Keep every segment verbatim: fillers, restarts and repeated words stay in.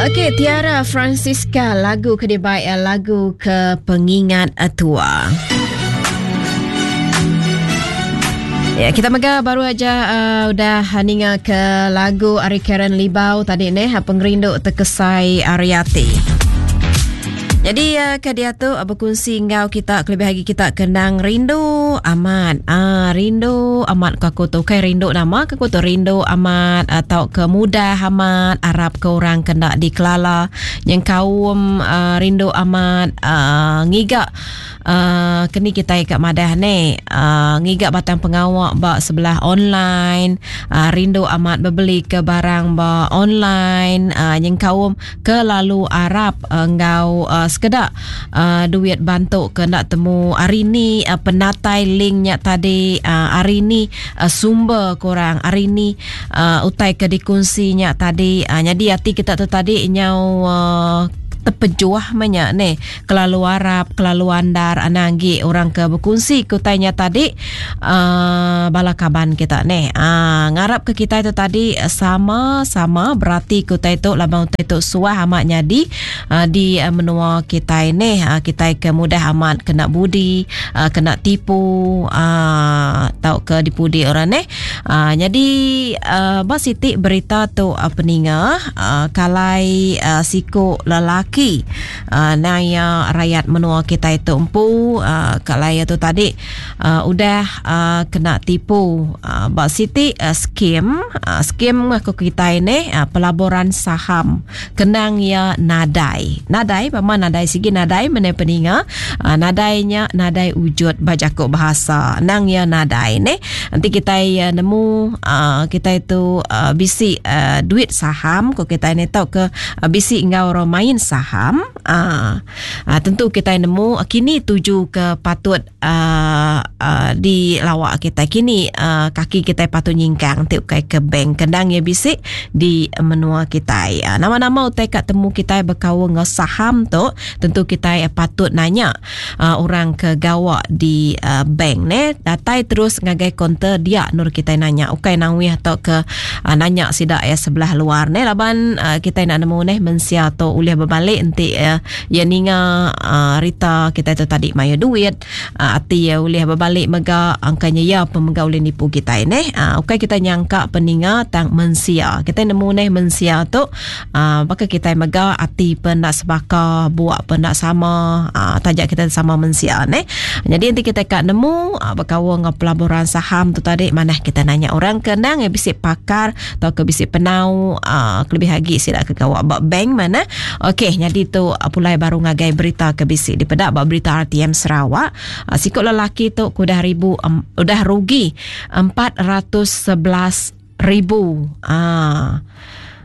Okey, Tiara Francisca, lagu ke dibaik lagu ke pengingat tua. Ya, kita mega baru aja uh, udah ninga ke lagu Ari Karen Libau tadi neh, Pengerindu Tekesai Ariati. Jadi uh, ke dia tu uh, berkongsi ngau kita kelebih lagi kita kenang rindu amat. Ah, rindu amat ke aku tu. Kai rindu nama ke aku tu rindu amat atau ke mudah amat Arab ke orang kena dikelala yang kaum uh, rindu amat uh, ngiga uh, kini kita ikat madah ni uh, ngiga batang pengawak ba sebelah online, uh, rindu amat berbeli ke barang ba online, uh, yang kaum ke lalu Arab uh, ngau uh, sekedak uh, duit bantu ke nak temu hari ni uh, penatai linknya tadi, uh, hari ni uh, sumber korang hari ni uh, utai ke dikongsinya tadi, uh, jadi hati kita tu tadi nyau uh, terpejuah banyak ni kelalu Arab kelalu andar ananggi orang ke berkongsi kutainya tadi uh, bala kaban kita ni uh, ngarap ke kita itu tadi sama-sama berarti kutai tu labang utai tu suah amat nyadi uh, di uh, menua kita ni uh, kita ke mudah amat kena budi, uh, kena tipu uh, tau ke dipudi orang ni uh, jadi uh, bas sitik berita tu uh, peninga uh, kalai uh, siku lelaki ki uh, naya rakyat menua kita itu empu uh, kalai itu tadi uh, udah uh, kena tipu uh, bak siti uh, skim uh, skim aku kita ini uh, pelaburan saham kenang ya nadai nadai pama nadai sigi nadai mene peninga uh, nadainya nadai wujud bajakuk bahasa nang ya nadai ne nanti kita uh, nemu uh, kita itu uh, bisi uh, duit saham ko kita ini tau ke uh, bisi ngau orang main saham saham ah, ah, tentu kita nemu kini tuju ke patut ah, ah, di lawak kita kini ah, kaki kita patut nyingkang tiup kai ke bank kendang ya bisik di menua kita. Ah, nama-nama utai kat temu kita berkawan dengan saham tu tentu kita patut nanya ah, orang ke gawak di ah, bank ne datai terus ngagai konter dia nur kita nanya ukai nangwih atau ke ah, nanya sidak ya sebelah luar ne laban ah, kita nak nemu ne mensia tu ulih berbalik nanti uh, ya ninga uh, Rita kita tu tadi maya duit uh, ati ya ulih berbalik mega angkanya ya pemega ulih nipu kita ini uh, ukai kita nyangka peninga tang mensia kita nemu neh mensia tu uh, maka kita mega ati pendak sebaka buak pendak sama uh, tajak kita sama mensia neh. Jadi nanti kita kat nemu uh, berkawan dengan pelaburan saham tu tadi mana kita nanya orang kenang ya bisik pakar atau ke bisik penau uh, kelebih lagi sila ke gawak bak bank mana. Okey, jadi tu pulai baru ngagai berita ke bisik di pedak bak berita R T M Sarawak. Uh, sikut lelaki tu kudah ribu um, udah rugi empat ratus sebelas ribu. Ah.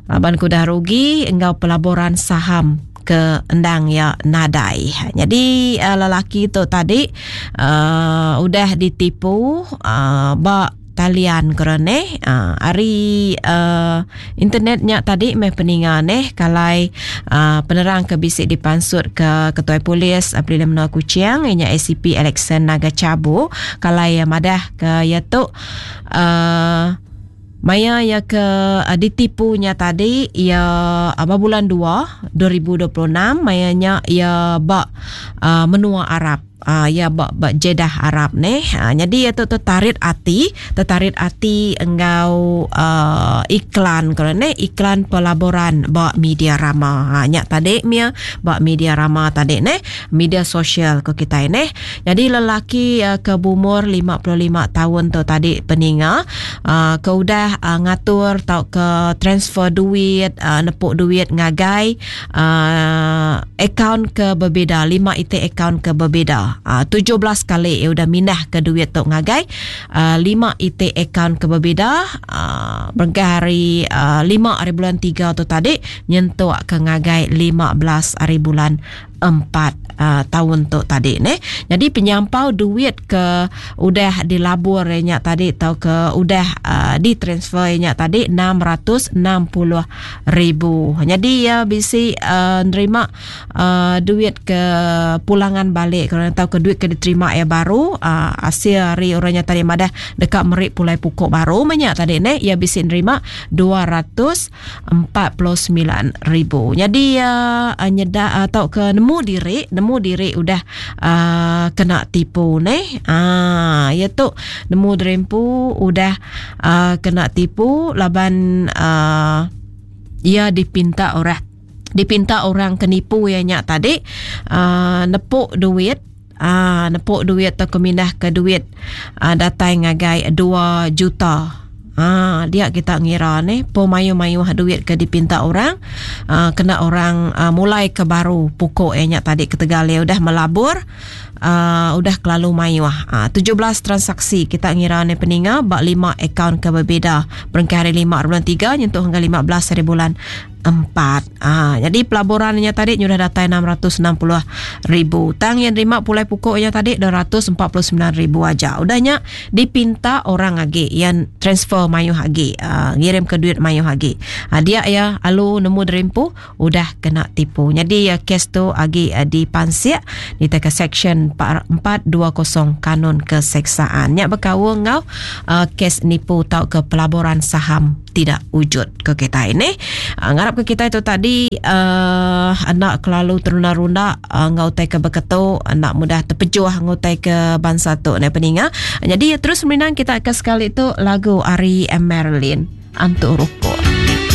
Laban kudah rugi engau pelaburan saham ke endang ya nadai. Jadi uh, lelaki tu tadi uh, udah ditipu uh, bak talian kerana uh, hari uh, internetnya tadi meh peninga neh kalai uh, penerang ke bisik dipansut ke ketua polis April Menua Kuching ianya A C P Alexander Naga Cabu kalai uh, madah ke ya tu uh, maya ya ke uh, ditipunya tadi ya uh, bulan dua dua ribu dua puluh enam mayanya ya bak uh, menua Arab. Ah, ya bak bak Jeddah Arab ni. Ah, jadi ya tu tertarik hati, tertarik hati engau uh, iklan kalau ni iklan pelaburan bak media rama. Ha, nyak tadi mia bak media rama tadi ni, media sosial ke kita ni. Jadi lelaki uh, ke umur lima puluh lima tahun tu tadi peninga uh, ke udah uh, ngatur tau ke transfer duit, uh, nepuk duit ngagai uh, akaun ke berbeza, lima I T akaun ke berbeza. Uh, tujuh belas kali ia udah mindah ke duit tok ngagai uh, lima I T akaun ke berbeza uh, berengkah hari uh, lima hari bulan tiga tu tadi nyentuk ke ngagai lima belas hari bulan empat uh, taun tu tadi neh. Jadi penyampau duit ke udah dilabur nya tadi atau ke udah uh, ditransfer nya tadi enam ratus enam puluh ribu. Jadi ya bisi uh, nerima uh, duit ke pulangan balik kalau tahu ke duit ke diterima ya baru uh, hasil hari orangnya tadi madah dekat merik pulai pukul baru banyak tadi neh ya bisi nerima dua ratus empat puluh sembilan ribu. Jadi uh, nyeda atau ke nemu diri nemu diri udah uh, kena tipu neh. Ah ya tu nemu derempu udah uh, kena tipu laban uh, ia dipinta orang dipinta orang kenipu ya nyak tadi uh, nepuk duit ah uh, nepuk duit atau kemindah ke duit uh, datai ngagai dua juta. Ah, dia kita ngira ni po mayu-mayu duit ke dipinta orang uh, kena orang uh, mulai ke baru pukul eh nyak tadi ketegal dia udah melabur uh, udah kelalu mayu. Uh, tujuh belas transaksi kita ngira ni peninga bak lima akaun ke berbeza berengkah hari lima bulan tiga nyentuh hingga lima belas hari bulan empat. Ah, jadi pelaburannya tadi sudah datai enam ratus enam puluh ribu. Tang yang terima pulai pukulnya tadi dua ratus empat puluh sembilan ribu aja. Udahnya dipinta orang lagi yang transfer mayu lagi, uh, ngirim ke duit mayu lagi. Ah, dia ya alu nemu derimpu udah kena tipu. Jadi ya kes tu agi uh, dipansik di teka section empat dua kosong Kanun Keseksaan. Nyak berkaul ngau uh, kes nipu tau ke pelaburan saham tidak wujud ke kita ini. Uh, ngarap ke kita itu tadi uh, anak kelalu terunda-runda uh, ngau tai ke beketu anak mudah terpejuh ngau tai ke bangsa tu ne peninga. Jadi terus meninang kita ke sekali tu lagu Ari Marilyn Antu Rukuk.